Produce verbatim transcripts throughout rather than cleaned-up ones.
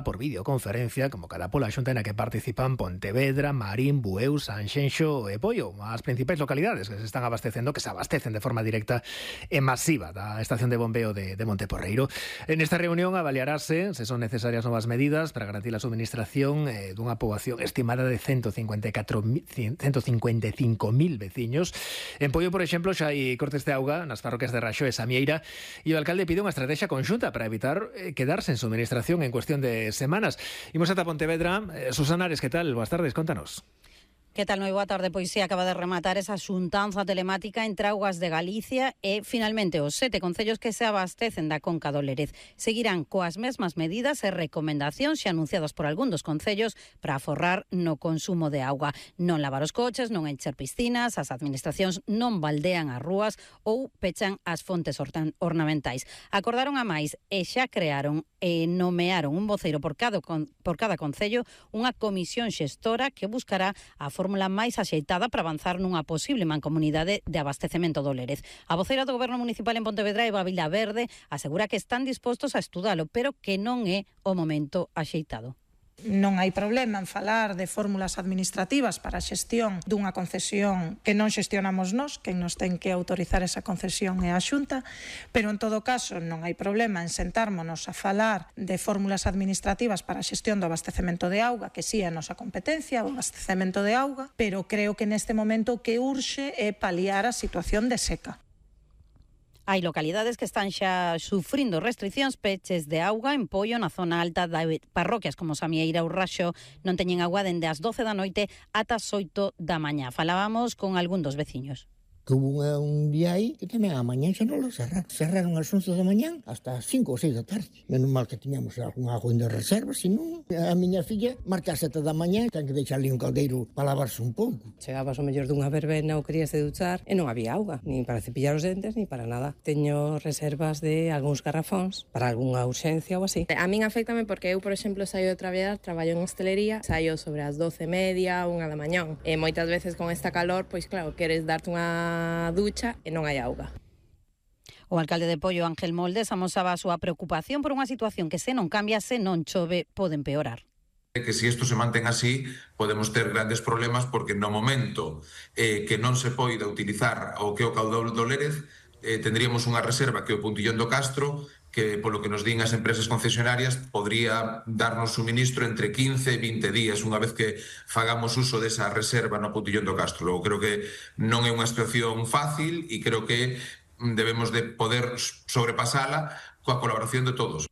por videoconferencia convocada pola Xunta na que participan Pontevedra, Marín, Bueu, Sanxenxo e Poio, as principais localidades que se están abastecendo, que se abastecen de forma directa e masiva da estación de bombeo de, de Monteporreiro. En esta reunión avaliarase se son necesarias novas medidas para garantir a suministración eh, dunha poboación estimada de ciento cincuenta e cinco mil veciños. En Poio, por exemplo, xa hai cortes de auga nas parroquias de Raxó e Samieira e o alcalde pide unha estrategia conxunta para evitar eh, quedarse en suministración en cuestión de semanas. Imos ata Pontevedra. Eh, Susana Ares, que tal? Boas tardes, contanos. Que tal? Moi boa tarde. Pois sí, acaba de rematar esa xuntanza telemática entre Augas de Galicia e, finalmente, os sete concellos que se abastecen da Conca do Lérez. Seguirán coas mesmas medidas e recomendacións xa anunciadas por algún dos concellos para aforrar no consumo de auga. Non lavar os coches, non encher piscinas, as administracións non baldean as rúas ou pechan as fontes ornamentais. Acordaron a máis e xa crearon e nomearon un voceiro por cada, por cada concello, unha comisión xestora que buscará a fórmula máis axeitada para avanzar nunha posible mancomunidade de abastecemento do Lérez. A voceira do Goberno Municipal en Pontevedra, Eva Vilaverde, asegura que están dispostos a estudalo, pero que non é o momento axeitado. Non hai problema en falar de fórmulas administrativas para a xestión dunha concesión que non xestionamos nós, quen nos ten que autorizar esa concesión é a Xunta, pero en todo caso non hai problema en sentármonos a falar de fórmulas administrativas para a xestión do abastecemento de auga, que si é a nosa competencia, o abastecemento de auga, pero creo que neste momento o que urxe é paliar a situación de seca. Hai localidades que están xa sufrindo restriccións, peches de auga en Poio, na zona alta da parroquias como Samieira ou Raxó, non teñen agua dende as doce da noite ata as oito da mañá. Falábamos con algún dos veciños. Hubo un día aí que tamén a mañán xa non lo cerraron. Cerraron as once da mañán hasta as cinco ou seis da tarde. Menos mal que tiñamos algún agua de reserva, senón a miña filla marca as sete da mañán, ten que deixar ali un caldeiro para lavarse un pouco. Chegabas ao mellor dunha verbena ou querías de duchar e non había auga, nin para cepillar os dentes, nin para nada. Teño reservas de algúns garrafóns para algunha urxencia ou así. A min afectame porque eu, por exemplo, saio de traballar, traballo en hostelería, saio sobre as doce e media, unha da mañán. E moitas veces con esta calor, pois claro, queres darte unha ducha e non hai auga. O alcalde de Poio, Ángel Moldes, amosaba a súa preocupación por unha situación que se non cambia, se non chove, pode empeorar. Que se isto se mantén así, podemos ter grandes problemas porque no momento eh, que non se poida utilizar o que é o caudal do Lérez, eh, tendríamos unha reserva que é o Puntillón do Castro, que polo que nos din as empresas concesionarias podría darnos suministro entre quince e vinte días unha vez que fagamos uso desa reserva no Puntillón do Castro. Logo, creo que non é unha situación fácil e creo que debemos de poder sobrepasala coa colaboración de todos.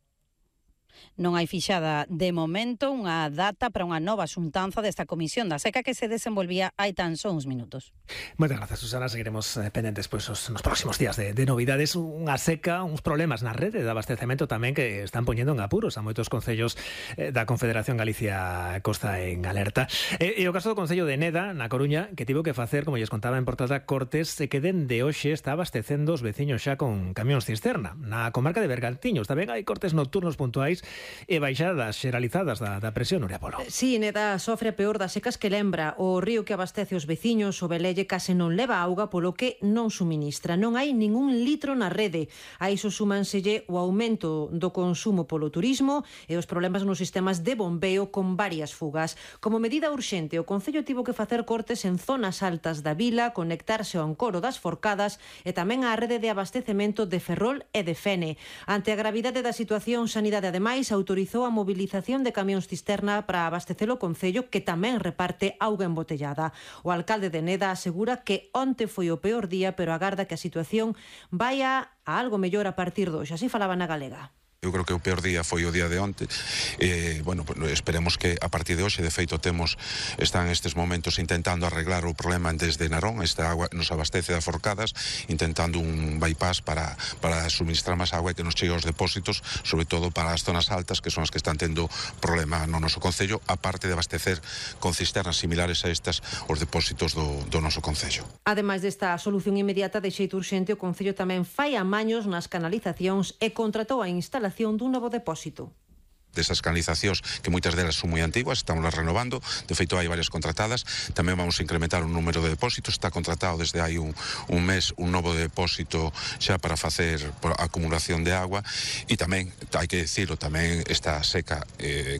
Non hai fixada de momento unha data para unha nova xuntanza desta comisión da seca que se desenvolvía hai tan só uns minutos. Moitas grazas, Susana. Seguiremos eh, pendentes pois, os, nos próximos días de, de novidades. Unha seca, uns problemas na rede de abastecemento tamén que están poñendo en apuros a moitos concellos eh, da Confederación Galicia Costa en alerta. E, e o caso do Concello de Neda, na Coruña, que tivo que facer, como lles contaba en portada, cortes e que dende hoxe está abastecendo os veciños xa con camións cisterna. Na comarca de Bergantiños tamén hai cortes nocturnos puntuais e baixadas xeralizadas da, da presión, Nuria Polo. Sí, Neda sofre a peor das secas que lembra. O río que abastece os veciños, o Velelle, case non leva auga, polo que non suministra. Non hai ningún litro na rede. A iso súmanselle o aumento do consumo polo turismo e os problemas nos sistemas de bombeo con varias fugas. Como medida urxente, o Concello tivo que facer cortes en zonas altas da vila, conectarse ao encoro das Forcadas e tamén á rede de abastecemento de Ferrol e de Fene. Ante a gravidade da situación, Sanidade, ademais, autorizou a movilización de camións cisterna para abastecer o Concello, que tamén reparte auga embotellada. O alcalde de Neda asegura que onte foi o peor día, pero agarda que a situación vaya a algo mellor a partir de hoxe. Así falaba na Galega. Eu creo que o peor día foi o día de onte. Eh, bueno, esperemos que a partir de hoxe, de feito, temos, están estes momentos intentando arreglar o problema desde Narón. Esta agua nos abastece das Forcadas, intentando un bypass para, para suministrar máis agua e que nos chegue aos depósitos, sobre todo para as zonas altas, que son as que están tendo problema no noso Concello, aparte de abastecer con cisternas similares a estas os depósitos do, do noso Concello. Ademais desta solución inmediata de xeito urxente, o Concello tamén fai amaños nas canalizacións e contratou a instalación dun novo depósito. Desas canalizacións, que moitas delas son moi antiguas, estamos las renovando, de feito hai varias contratadas, tamén vamos a incrementar o número de depósitos, está contratado desde hai un, un mes un novo depósito xa para facer por acumulación de agua, e tamén, hai que decirlo, tamén esta seca eh,